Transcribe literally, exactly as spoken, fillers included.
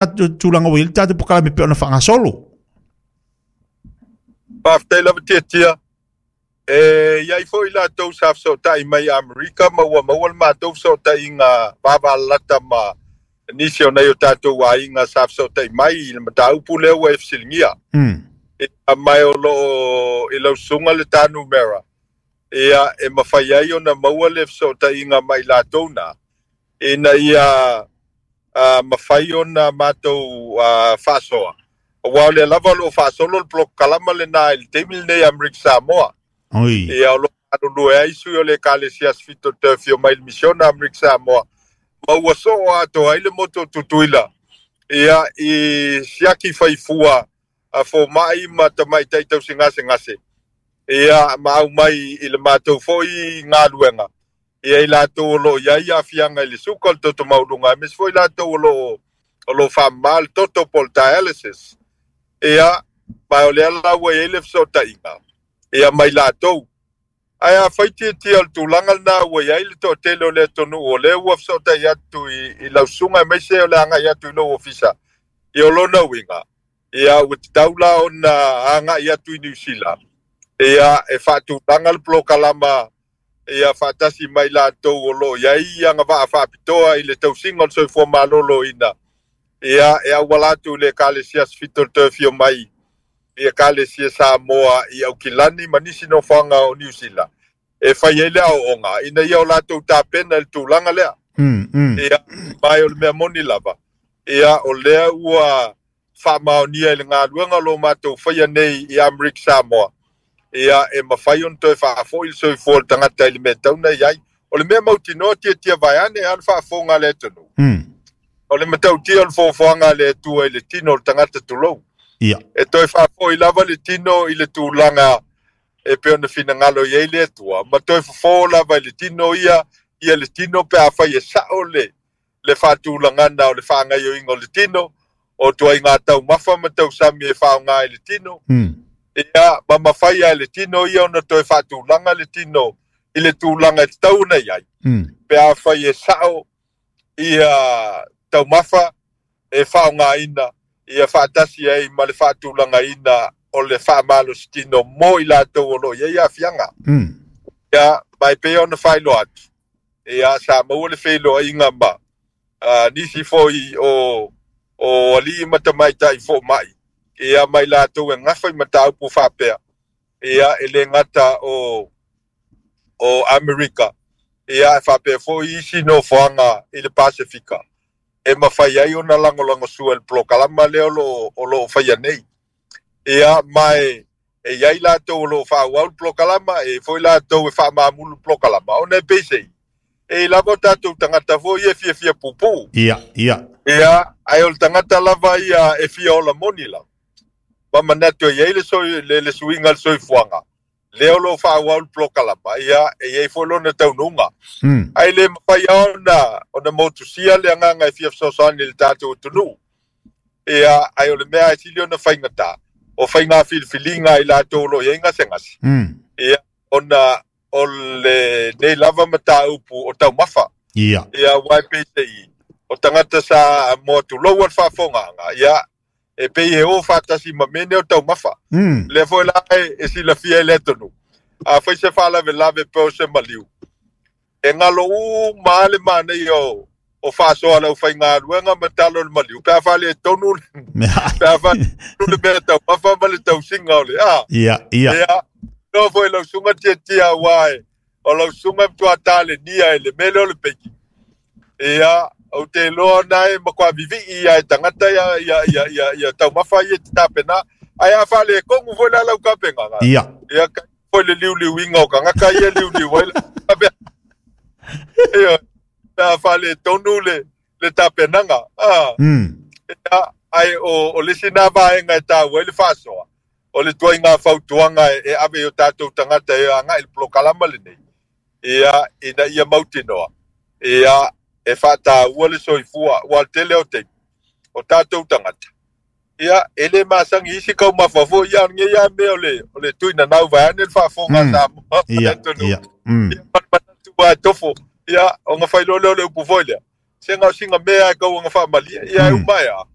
Tulaga ua i ai le tatou polokalame pei ona faagasolo. Faafetai lava Tiatia. E i ai foi latou sa fesootai mai Amerika ma ua maua le matou fesootaiga vavalalata ma nisi o nai o tatou aiga sa fesootai mai i le mataupu lea ua e fesiligia. Mm. Ia, ma o loo i lau susuga le ta numera, ia e mafai ai ona maua le fesootaiga mai latou na, ina ia uh, mafai ona matou uh, faasoa. Aua o lea lava o loo faasolo le polokalama lena i le taimi lenei Amerika Samoa. Oi. Ia, o loo galulue ai sui o le Ekalesia Sefito toe afio mai le misiona Amerika Samoa, ma ua soo atoa ai le motu o Tutuila, ia i siaki faifua a fomai ma tamaitai tausigasegase, ia ma aumai i le matou foi galuega, ia i latou o loo i ai aafiaga i le suka o le toto maualuga, aemaise foi latou o loo o loo faamamā le toto po o le dialysis. Ia, ma o lea la ua i ai le fesootaiga ia mai latou. Ae afai Tiatia o le tulaga lena ua i ai le toatele o le atunuu o lea ua fesootai atu i, i lau susuga aemaise o le agai atu i lou ofisa, ia o lona uiga, ia ua tatau la ona agai atu i Niu Sila, ia e faatulaga le polokalama ia faatasi mai latou o loo i ai agavaa faapitoa i le tausiga o le soifua maloloina, ia e auala atu i le Ekalesia Sefito le toe afio mai i Ekalesia Samoa i Aukilani ma nisi nofoaga o Niu Sila e fai ai le aooga ina ia o latou tapena i le tulaga lea. Mm, mm. Ia, mai o le mea moni lava, ia o lea ua faamaonia i le galuega o lo matou faia nei i Amerika Samoa, ia e mafai ona toe faafoi le soifua o le tagata i le mea tatau ona i ai. O le mea mautinoa Tiatia vaeane a le faafofoga a le atunuu. Mm. O le matautia o le foafoaga a le Atua i le tino o le tagata tulou. Ia. E toe faafoi lava le tino i le tulaga e pei ona finagalo i ai le Atua, ma toe fofo lava i le tino ia, ia le tino pe afai e sao le, le faatulagana o le faagaoioiga o le tino, o tuaiga taumafa ma tausami e faaaoga i le tino. Mm. Ia, ma mafai ai le tino ia ona toe faatulaga le tino i le tulaga e tatau ona i ai. Mm. Pe afai e sao ia taumafa e faaaogaina ia faatasi ai ma le faatulagaina o le faamalositino mo i latou o loo i ai aafiaga. Mm. Ia, ma e pei ona faailoa atu, ia sa maua le feiloaiga ma uh, nisi foi o o alii ma tamaitai fomai, ia mai latou e gafa i mataupu faapea, ia e le gata o o Amerika, ia e faapea foi isi nofoaga i le Pasefika e mafai ai ona lagolagosua i le polokalama lea o loo o loo faia nei. Ia, ma e e i ai latou o loo faaauau le polokalama, e foi latou e faamamulu le polokalama ona e peisei e i lava o tatou tagata foi ia e fiafia pupuu. Ia, ia. Ia, ae o le tagata lava ia e fia ola moni lava ma manatu e i ai le, soi, le, le suiga le soifuaga lea o loo faaauau le polokalama, ia e i ai foi lona taunuuga. Mm. Ae le mafai ona ona motusia le agaga e fia fesoasoani i le tatou atunuu. Ia, ae o le mea e sili ona faigata o faiga filifiliga i latou o loo i ai gasegase. Mm. Ia, ona o le nei lava mataupu o taumafa. Ia. Ia, aua e peisei o tagata sa mo tulou le faafofogaaga, ia e pei e o faatasi ma mea nei o taumafa. Mm. Lea foi la e, e silafia i le atunuu, afai se faalavelave pe o se maliu, e galo uma le manaia o o faasoa le aufaigaluega ma talo le maliu pe a faaletonu pe a faaletonu le mea taumafa ma le tausiga o le a. Ia, ia. Ia, no foi lau susuga Tiatia, aua e o lau susuga e matua talenia i le mea lea o le peiki. Ia, ou te iloa na e matua vivii ia e tagata ia ia ia ia, ia taumafa ia te tapena, ae a faaletonu foi la lau tapenaga. Ia. Ia foi le liuliuiga o tagata ia liuliu ai la ia pe a faaletonu le le tapenaga a. Mm. Ia, ae o o le isi na vaega e taua ai le faasoa o le tuaiga fautuaga e, e ave i o tatou tagata e agai i le polokalama lenei, ia ina ia mautinoa ia e faataua le soifua, ua tele o taimi o tatou tagata ia e le masagi isi taumafa foi ia lenei a mea o le o le tuinanau vaeane le faafofoga Mm. Samoa ma le Ia, atunuu. ia. Mm. Ia, manatu e tofo, ia ona fai loa lea o le upu foi lea. Se ga o siga mea e kauaga faamalie ia e uma e a.